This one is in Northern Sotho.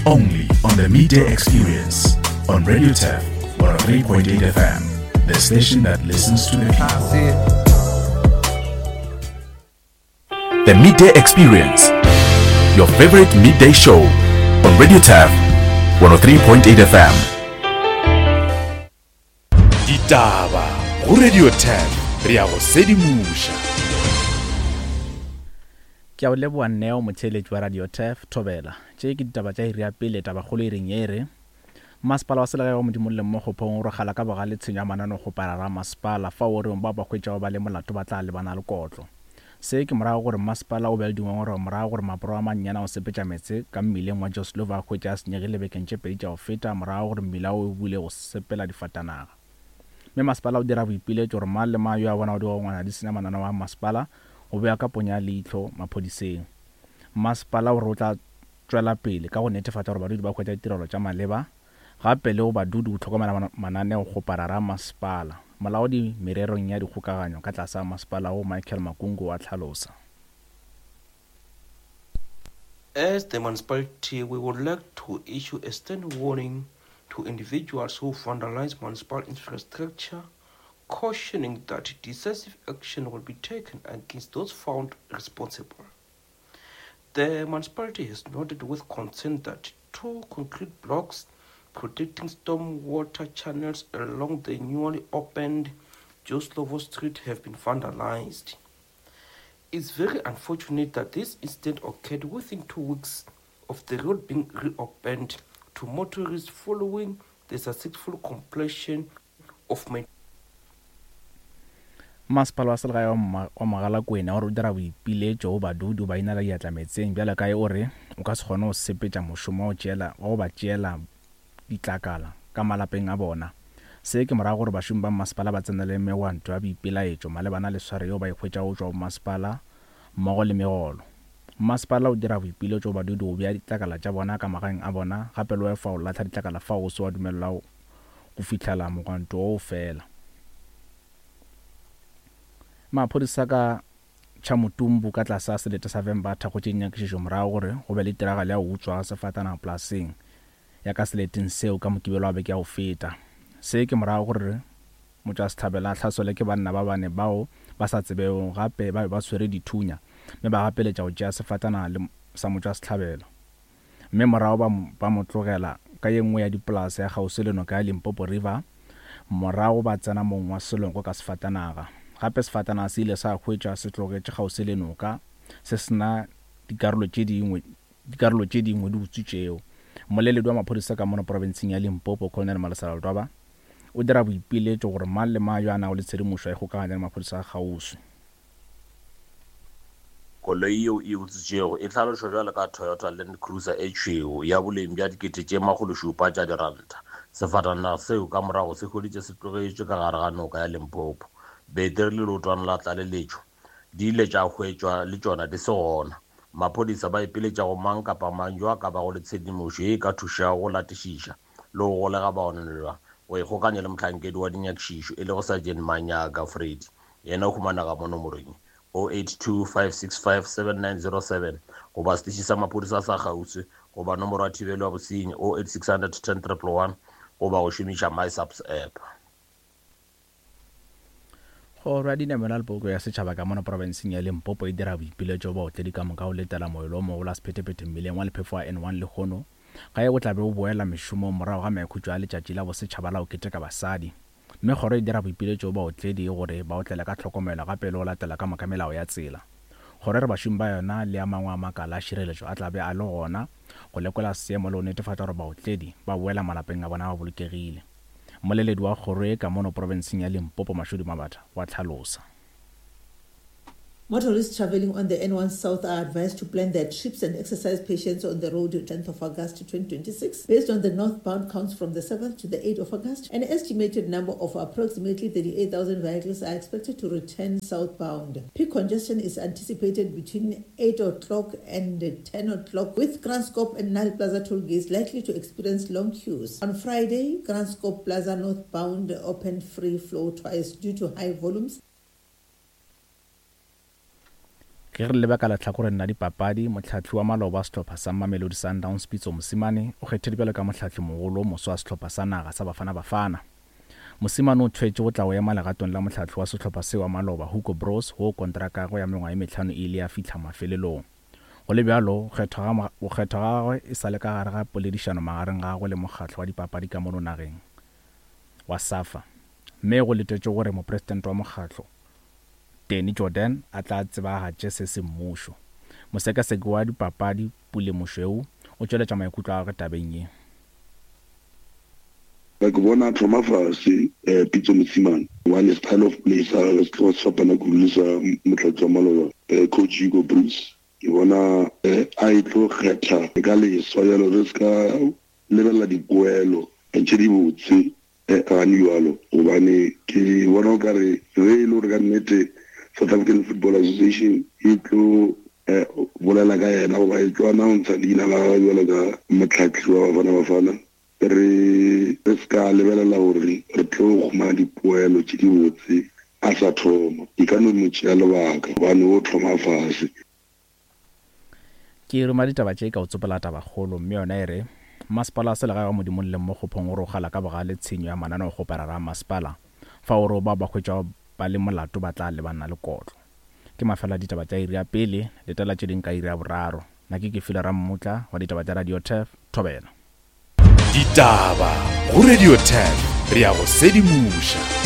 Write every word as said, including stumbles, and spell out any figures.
Only on the Midday Experience on Radio Turf one oh three point eight F M, the station that listens to the people. The Midday Experience, your favorite midday show on Radio Turf one oh three point eight F M. Ditaba go Radio Turf, re ya go sedimoša. Ke a o leboha Neo, motheeletši wa Radio Turf, Thobela. Tše ke ditaba tša iri ya pele, tabakgolo e reng ye e re Masepala wa selegae wa Modimolle mo Kgophong o rogala ka bogale tshenyo ya mananeo-kgoparara a masepala fao o reng bao ba hwetšago ba le molato ba tla lebana le kotlo. Se ke morago gore masepala o be le dingongorego morago gore maporo a mannyane a go sepetša meetse ka mmileng wa Joe Slovo a hwetše a senyegile bekeng tše pedi tša go feta morago gore mmila o bule go sepela difatanaga. Mme masepala o dira boipiletšo gore mang le mang yo a bonago digongwana di senya mananeo a masepala o bea ka ponya leihlo maphodiseng. Masepala o re o tla tšwela pele ka go netefatša gore badudi ba hwetša ditirelo tša maleba gape le go badudi go hlokomela mananeo-kgoparara a masepala. Molaodi mererong ya dikgokaganyo ka tlase ga masepala wo Michael Makungu wa tlhalosa. As the municipality, we would like to issue a stern warning to individuals who vandalize municipal infrastructure, cautioning that decisive action will be taken against those found responsible. The municipality has noted with concern that two concrete blocks protecting stormwater channels along the newly opened Joe Slovo Street have been vandalized. It's very unfortunate that this incident occurred within two weeks of the road being reopened to motorists following the successful completion of maintenance. Masepala wa selegae wa Mogalakwena o re o dira boipiletšo go badudi ba inela diatla meetseng bjalo ka e o re o ka se kgone go sepetša mošomo wa go ba tšeela ditlakala ka malapeng a bona. Se ke morago gore bašomi ba masepala ba tsenele megwanto ya boipelaetšo malebana le sware yeo ba e hwetšago go tšwa go masepala mmogo le megolo. Masepala o dira boipiletšo go badudi go bea ditlakala tša bona ka magaeng a bona gape le go efa go lahla ditlakala fao go se wa dumelelwago go fihlela mogwanto wo o fela. Maphodisa ka Tšhamutumbu ka tlase ga selete sa Vhembe a thakgotše dinyakišišo morago gore go be le tiragalo ya go utswa ga sefatanaga polaseng ya ka seleteng seo ka Mokibelo wa beke ya go feta. Se ke morago gore motšwasehlabelo a hlaselwe ke banna ba bane bao ba sa tsebego gape ba be ba tshwere dithunya mme ba gapeletša go tšea sefatanaga le sa motšwasehlabelo mme morago ba, ba mo tlogela ka ye nngwe ya dipolase ya kgauswi le noka ya Limpopo River morago ba tsena mong wa selongo ka sefatanaga. Gape sefatanaga se ile sa hwetšwa se tlogetše kgauswi le noka se sena dikarolo tše dingwe dikarolo tše dingwe di utswitšego. Mmoleledi wa maphodisa ka mono profenseng ya Limpopo Colonel Malesela Ledwaba o dira boipiletšo gore mang le mang yo a nago le tshedimošo a ikgokaganye le maphodisa a kgauswi. Koloi yeo e utswitšwego e hlalošwa bjalo ka Toyota Land Cruiser e tšhweu ya boleng bja dikete tše makgolo šupa tša diranta. Sefatanaga seo ka morago se hweditše se tlogetšwe ka gare ga noka ya Limpopo. Beteri le leotwana la tlaleletšo di ile tša hwetšwa le tšona di se gona. Maphodisa ba ipiletša go mang kapa mang yo a ka bago le tshedimošo ye e ka thušago go latišiša le go golega baonelwa go ikgokanya le mohlankedi wa dinyakišišo e lego Sergeant Manyaga Freddy. Yena o humanega mo nomorong oh eight two five six five seven nine zero seven goba setiši sa maphodisa sa kgauswi goba nomoro ya thibelo ya bosenyi oh eight six hundred ten triple one goba go šomiša MySAPS app. Kgoro ya dinamelwa le poloko ya setšhaba ka mono profenseng ya Limpopo e dira boipiletšo baotledi ka moka go letela moelo o mogolo wa sephethephethe mmileng wa lephefo wa N one lehono ga e o tla be o boela mešomong morago ga maikhutšo a letšatši la bosetšhaba la go keteka basadi. Mme kgoro e dira boipiletšo baotledi gore ba otlele ka tlhokomelo gape le go latela ka moka melao ya tsela. Kgoro e re bašomi ba yona le a mangwe a makala a šireletšo a tla be a le gona go lekola seemo le go netefatša gore baotledi ba boela malapeng a bona ba bolokegile. Mmoleledi wa kgoro e ka mono profenseng ya Limpopo Mashudu Mabatha wa tlhalosa. Motorists traveling on the N one South are advised to plan their trips and exercise patience on the road tenth of August twenty twenty-six. Based on the northbound counts from the seventh to the eighth of August, an estimated number of approximately thirty-eight thousand vehicles are expected to return southbound. Peak congestion is anticipated between eight o'clock and ten o'clock, with Kranskop and Nile Plaza toll gates likely to experience long queues. On Friday, Kranskop Plaza northbound opened free flow twice due to high volumes. Ge re leba ka lehlakoreng la dipapadi, mohlahli wa maloba wa sehlopha sa Mamelodi Sundowns Pitso Mosimane o kgethilwe bjalo ka mohlahli-mogolo o moswa wa sehlopha sa naga sa Bafana Bafana. Mosimane o thwetše go tla go ema legatong la mohlahli wa sehlopha seo wa maloba Hugo Broos woo kontraka ya gagwe ya mengwaga ye mehlano e ile ya fihla mafelelong. Go le bjalo, go kgethwa ga gagwe e sa le ka gare ga poledišano magareng ga gagwe le mokgatlo wa dipapadi ka mono nageng wa SAFA mme go letetšwe gore mopresidente wa mokgatlo Danny Jordaan a tla tsebagatše se semmušo. Mosekaseki wa dipapadi Pule Mošweu o tšweletša maikutlo a gagwe tabeng ye. Ke bona a thoma fase Pitso Mosimane gobane style of play sa gagwe se tloga se fapana kudu le sa motlatsi wa maloba coach Hugo Broos. Ke bona a e tlo kgetha ka leswa bjalo re se ka lebelela dipoelo tše dibotse gane bjalo gobane ke bona o kare ge e le gore ka nnete South African Football Association e tlo bolela ka yena goba e tlo announce leina la gagwe bjalo ka motlhahli wa Bafana Bafana, re re se ka lebelela gore re tlo humana dipoelo tše dibotse a sa thoma. E ka no mo tšea lebaka gobane o thoma fase. Ke ruma ditaba tše ka o tsopela tabakgolo mme yona e re masepala wa selegae wa Modimolle mo Kgophong o rogala ka bogale tshenyo ya mananeokgoparara a masepala fa o re o bao ba hwetšwago ba le molato ba tla lebana le kotlo. Ke mafelo a ditaba tša iri ya pele, letela tše ding ka iri ya boraro. Nna ke Kefile Rammutla wa ditaba tša Radio Turf, Thobela. Ditaba go Radio Turf, re ya go sedimoša.